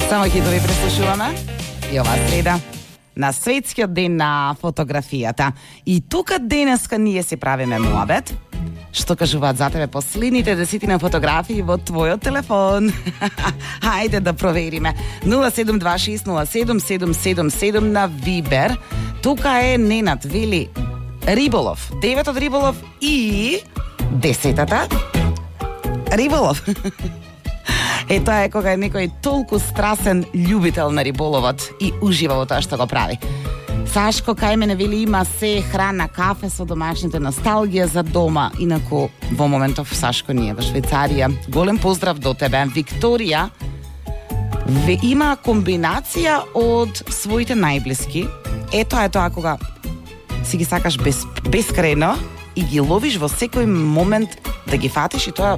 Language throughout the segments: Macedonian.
Само хитови преслушуваме и ова среда на светскиот ден на фотографијата. И тука денеска ние си правиме муабет. Што кажуваат за тебе последните 10 фотографии во твојот телефон? Хајде да провериме. 072607777 на Вибер. Тука е Ненад, вели риболов, 9-тот риболов и 10-тата риболов. Тоа е кога е некој толку страсен љубител на риболовот и ужива во тоа што го прави. Сашко кај мене вели има се храна, кафе со домашните, носталгија за дома. Инаку во моментов Сашко ние во Швајцарија. Голем поздрав до тебе. Викторија има комбинација од своите најблиски. Тоа е тоа кога си ги сакаш бескрајно и ги ловиш во секој момент да ги фатиш и тоа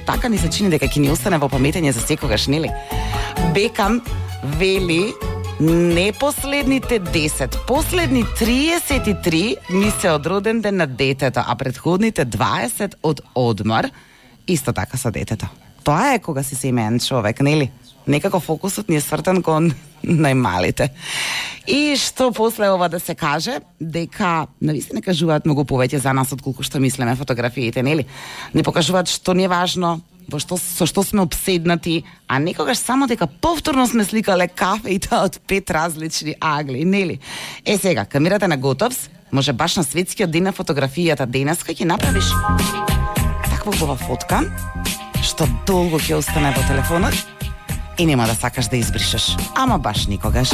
така ни се чини дека ќе ни остане во паметење за секогаш, нели? Бекам вели не последните 10, последни 33 ми се од роден ден на детето, а предходните 20 од одмор, исто така со детето. Тоа е кога си семеен човек, нели? Некако фокусот ни е свртен кон најмалите. И што после ова да се каже, дека навистина кажуваат многу повеќе за нас отколку што мислиме фотографиите, нели? Не покажуваат што ни е важно, со што сме обседнати, а некогаш само дека повторно сме сликале кафе и тоа од 5 различни агли, нели? Сега, камерата на Готовс, може баш на светскиот ден на фотографијата денеска ќе направиш таква убава фотка, што долго ќе остане во телефонот и нема да сакаш да избришеш, ама баш никогаш.